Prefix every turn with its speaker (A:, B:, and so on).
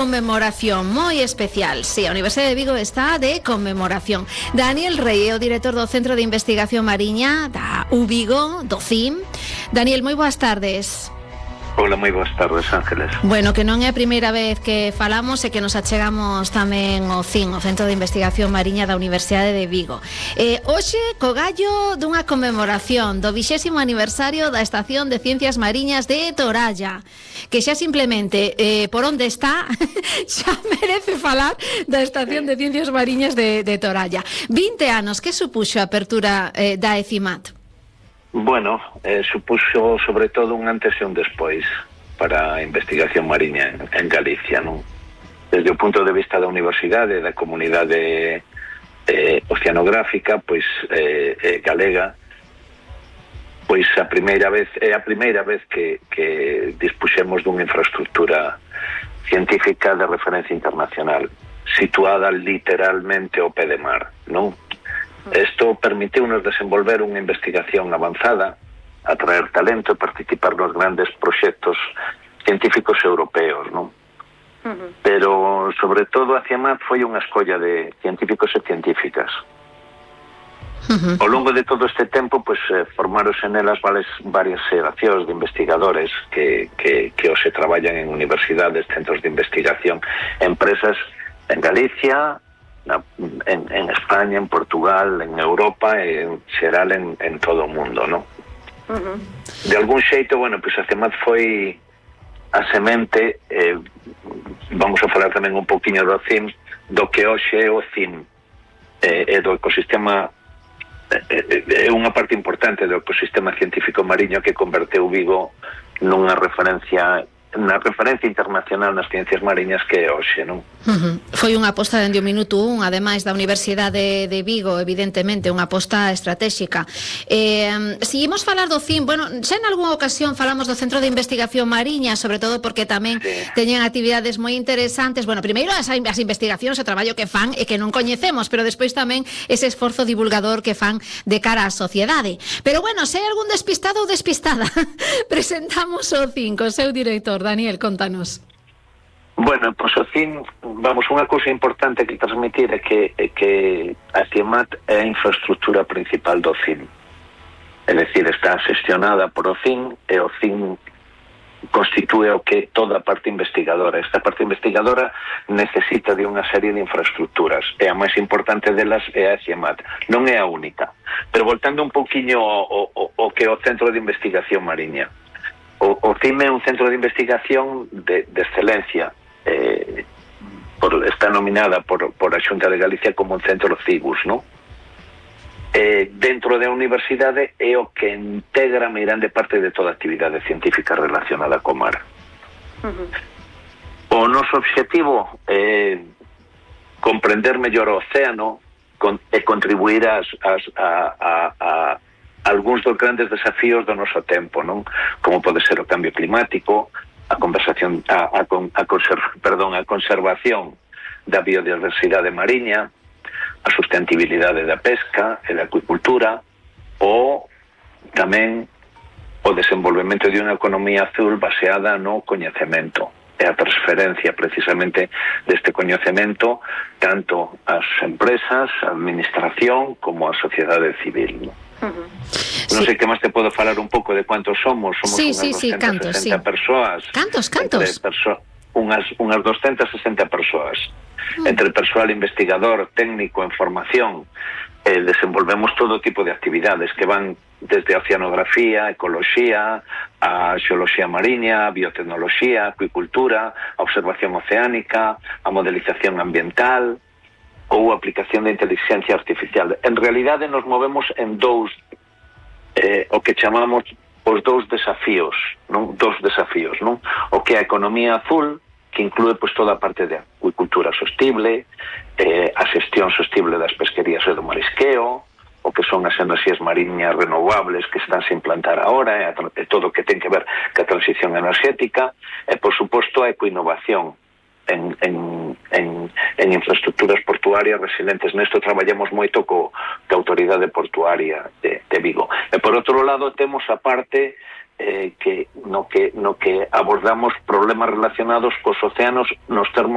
A: Conmemoración moi especial. Si, a Universidade de Vigo está de conmemoración. Daniel Rey é o director do Centro de Investigación Mariña da UVigo, do CIM. Daniel, moi boas tardes.
B: Hola, moi boas tardes, Ángeles.
A: Bueno, que non é a primeira vez que falamos e que nos achegamos tamén ao CIM, o Centro de Investigación Mariña da Universidade de Vigo. Hoxe, co gallo dunha conmemoración do 20º aniversario da Estación de Ciencias Mariñas de Toralla, que xa simplemente por onde está xa merece falar da Estación de Ciencias Mariñas de Toralla. 20 anos, que supuxo a apertura da ECIMAT?
B: Bueno, supuxo sobre todo un antes e un despois para a investigación mariña en Galicia, non? Desde o punto de vista da universidade, da comunidade oceanográfica, pois galega, pois é a primeira vez que dispuxemos dunha infraestructura científica de referencia internacional, situada literalmente ao pé de mar, non? Isto permitiu-nos desenvolver unha investigación avanzada, atraer talento e participar nos grandes proxectos científicos europeos, non? Pero, sobre todo, a CIEMAT foi unha escolla de científicos e científicas. Ao longo de todo este tempo, pois, formáronse nelas varias xeracións de investigadores que hoxe traballan en universidades, centros de investigación, empresas en Galicia, en España, en Portugal, en Europa e en xeral en todo o mundo, non? De algún xeito, bueno, pois a CIEMAT foi a semente, vamos a falar tamén un poquinho do CIM, do que hoxe é o CIM, e do ecosistema, é unha parte importante do ecosistema científico mariño que converteu Vigo nunha referencia internacional nas ciencias mariñas que é hoxe, non?
A: Foi unha aposta dende o minuto 1, ademais da Universidade de Vigo, evidentemente, unha aposta estratégica. Seguimos falar do CIM, bueno, xa en algunha ocasión falamos do Centro de Investigación Mariña, sobre todo porque tamén teñen actividades moi interesantes. Bueno, primeiro as investigacións, o traballo que fan e que non coñecemos, pero despois tamén ese esforzo divulgador que fan de cara á sociedade. Pero bueno, se hai algún despistado ou despistada, presentamos o CIM co seu director. Daniel, contanos.
B: Bueno, pois o CIM, vamos, unha cousa importante que transmitir é que a CIEMAT é a infraestructura principal do CIM. É dicir, está xestionada por o CIM e o CIM constitúe o que toda a parte investigadora. Esta parte investigadora necesita de unha serie de infraestructuras e a máis importante delas é a CIEMAT. Non é a única. Pero voltando un pouquiño ao que é o Centro de Investigación Mariña. O CIM é un centro de investigación de excelencia. Está nominada por a Xunta de Galicia como un centro CIGUS, non? Dentro da universidade é o que integra a meirande parte de toda a actividade científica relacionada co mar. O noso obxectivo é comprender mellor o océano e contribuir a algúns dos grandes desafíos do noso tempo, non? Como pode ser o cambio climático, a conservación da biodiversidade mariña, a sustentabilidade da pesca e da acuicultura, ou tamén o desenvolvemento de unha economía azul baseada no coñecemento e a transferencia precisamente deste coñecemento tanto ás empresas, a administración como a sociedade civil, non? Non sei que máis te podo falar un pouco de cuántos somos. Somos unhas 260 persoas.
A: Cantos?
B: Unhas 260 persoas. Entre persoal investigador, técnico, en formación, desenvolvemos todo tipo de actividades que van desde a oceanografía, ecoloxía, a xeoloxía mariña, a biotecnoloxía, a acuicultura, a observación oceánica, a modelización ambiental ou a aplicación da inteligencia artificial. En realidade nos movemos en dous, o que chamamos os dous desafíos, non? O que é a economía azul, que inclúe pois toda a parte de acuicultura sostible, a xestión sostible das pesquerías e do marisqueo, o que son as enerxías mariñas renovables que están se implantar agora, e todo o que ten que ver ca transición enerxética, e por suposto a ecoinnovación, en infraestructuras portuarias resilientes. Nesto traballamos moito ca Autoridade Portuaria de Vigo. E por outro lado temos a parte no que abordamos problemas relacionados cos océanos nos termos